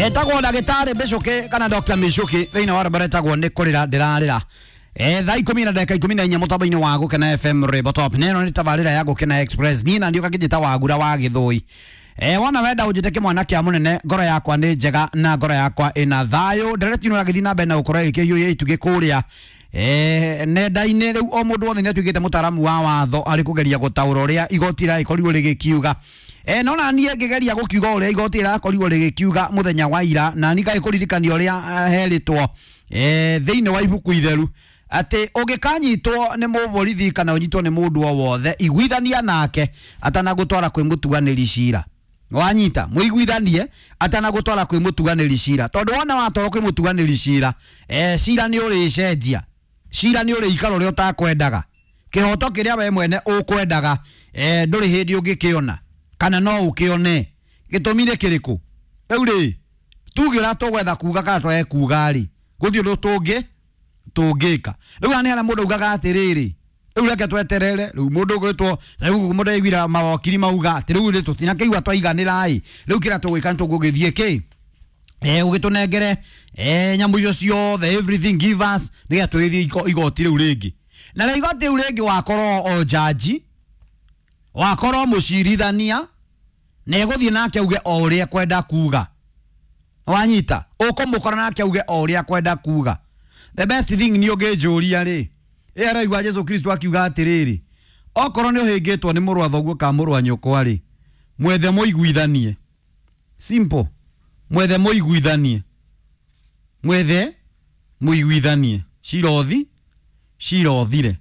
Etagwo ndagĩtarĩ Mĩcũkĩ kana Dr. Mĩcũkĩ thĩinĩ wa rwĩmbo rwĩtagwo nĩ kũrĩra ndĩrarĩra. Thaa 14:14 mũtambo-inĩ wa Gũkena FM Rwĩmbo Top. Na ĩno nĩ tabarĩra ya Gũkena Express. Niĩ na ndiũka ngĩnjĩta Wagura wa Gĩthũi. Wona wenda ũnjĩte kĩmwana kĩa mũnene, ngoro yakwa nĩ njega na ngoro yakwa ĩna thayũ. Ndereti ĩno ĩragĩthiĩ na mbere na gũkorwo ĩgĩkĩhiũhia itugĩ kũrĩa nenda-inĩ. Rĩu o mũndũ wothe nĩ atuĩkĩte mũtaaramu wa watho arĩ kũgeria gũtaũra ũrĩa igoti rĩragĩkorirwo rĩgĩkiuga. No na niĩ ngĩgeria gũkiuga ũrĩa igoti rĩrakorirwo rĩgĩkiuga mũthenya wa ira, na niĩ ngagĩkũririkania ũrĩa herĩtwo thĩinĩ wa ibuku itheru atĩ ũngĩkanyitwo nĩ mũborithi kana ũnyitwo nĩ mũndũ o wothe, iguithania nake atanagũtwara kwĩ mũtuanĩri cira. Wanyita mũiguithanie atanagũtwara kwĩ mũtuanĩri cira, tondũ wona watwarwo kwĩ mũtuanĩri cira, cira nĩ ũrĩcenjia, cira nĩ ũrĩikara ũrĩa ũtakwendaga, kĩhoto kĩrĩa we mwene ũkwendaga ndũrĩ hĩndĩ ũngĩkĩona kana no ũkĩone. Gĩtũmi nĩ kĩrĩkũ? Rĩu rĩ, tuge ũrĩa tũgwetha kuga kana twage kuga rĩ, gũtirĩ ũndũ tũngĩka. Rĩu haha nĩ harĩa mũndũ augaga atĩrĩrĩ, rĩu reke tweterere, rĩu mũndũ ũgwĩtwo, rĩu mũndũ aiguire mawakiri mauga atĩ rĩu rĩ tũtinakĩigua twaiganĩra ĩ, rĩu kĩrĩa tũgwĩka nĩ tũgũgĩthiĩ kĩ ũgĩtũnengere nyamũ icio ciothe, everything give us, nĩgetha tũgĩthiĩ igoti rĩu rĩngĩ. Na rĩ igoti rĩu rĩngĩ wakorwo o jaji, wakorwo mũcirithania, na egũthiĩ nake auge o ũrĩa ekwenda kuga. Wanyita ũkũmũkora nake auge o ũrĩa ekwenda kuga. The best thing nĩ ũngĩnjũria rĩ, ĩ araigua Jesu Kristo akiuga atĩrĩrĩ, okorwo nĩ ũhĩngĩtwo nĩ mũrũ wa thoguo kana mũrũ wa nyũkwa rĩ, mwethe mũiguithanie. Simple. Mwethe mũiguithanie, mwethe mũiguithanie, cira ũthi cira ũthire,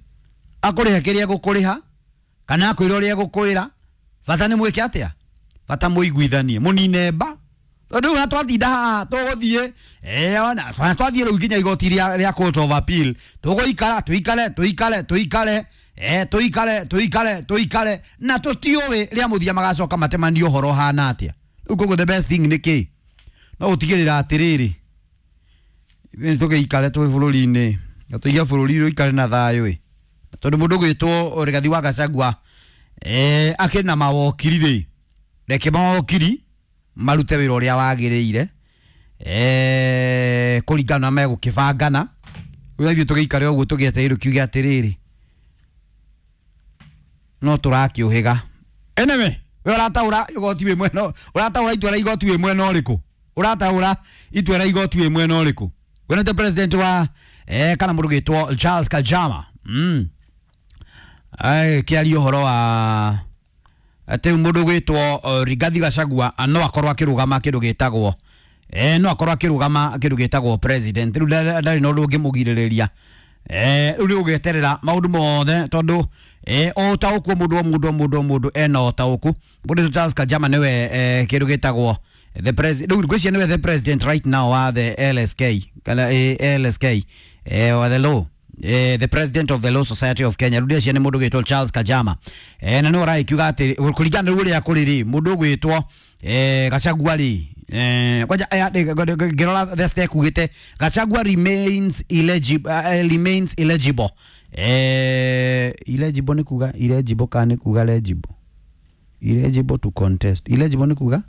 akũrĩhe kĩrĩa egũkũrĩha kana akwĩra ũrĩa egũkwĩra, bata nĩ mwĩke atĩa, bata mũiguithanie, mũnine mba. Tondũ rĩu ona twatinda haha tũgũthiĩ, ona twathiĩ rĩu nginya igoti rĩa Court of Appeal, tũgũikara tũikare tũikare tũikare tũikare tũikare tũikare na tũtiũĩ rĩa mũthia magacoka matemanie ũhoro ũhana atĩa. Rĩu koguo the best thing nĩ kĩ? No gũtigĩrĩra atĩrĩrĩ, ithuĩ nĩ tũgĩikare twĩ bũrũri-inĩ na tũige bũrũri ũikare na thayũ ĩ, tondũ mũndũ ũgwĩtwo Rigathi wa Gachagua akĩrĩ na mawokiri rĩ, reke mawokiri marute wĩra ũrĩa wagĩrĩire kũringana na megũkĩbangana. Rĩu ithuĩ tũgĩikare ũguo tũgĩetereire kiuge atĩrĩrĩ, no tũrakĩũhĩga. Anyway, we ũrataũra igoti wĩ mwena, ũrataũra itua rĩa igoti wĩ mwena ũrĩkũ? Ũrataũra itua rĩa igoti wĩ mwena ũrĩkũ? We nĩ president wa kana mũndũ ũgwĩtwo Charles Kajama kĩaria ũhoro wa atĩ mũndũ ũgwĩtwo Rigathi Gachagua no akorwo akĩrũgama kĩndũ gĩtagwo no akorwo akĩrũgama kĩndũ gĩtagwo president. Rĩu ndarĩ na ũndũ ũngĩmũgirĩrĩria. Rĩu nĩ ũgweterera maũndũ mothe tondũ o ũtaũku mũndũ o mũndũ o mũndũ o mũndũ ena ũtaũku. Mũndũ Charles Kajama nĩwe kĩndũ gĩtagwo the president, rĩu ngwĩciria nĩwe the president right now wa the LSK kana LSK wa the law, the president of the Law Society of Kenya. Rĩu ndĩreciria nĩ mũndũ ũgwĩtwo Charles Kajama na nĩwe ũragĩkiuga atĩ kũringana na ũrĩa kũrĩ rĩ, mũndũ ũgwĩtwo Gachagua rĩ, kwanja ngĩrora the step ugĩte Gachagua remains eligible, remains eligible. Eligible nĩ kuga eligible kana nĩ kuga legible? Eligible to contest. Eligible nĩ kuga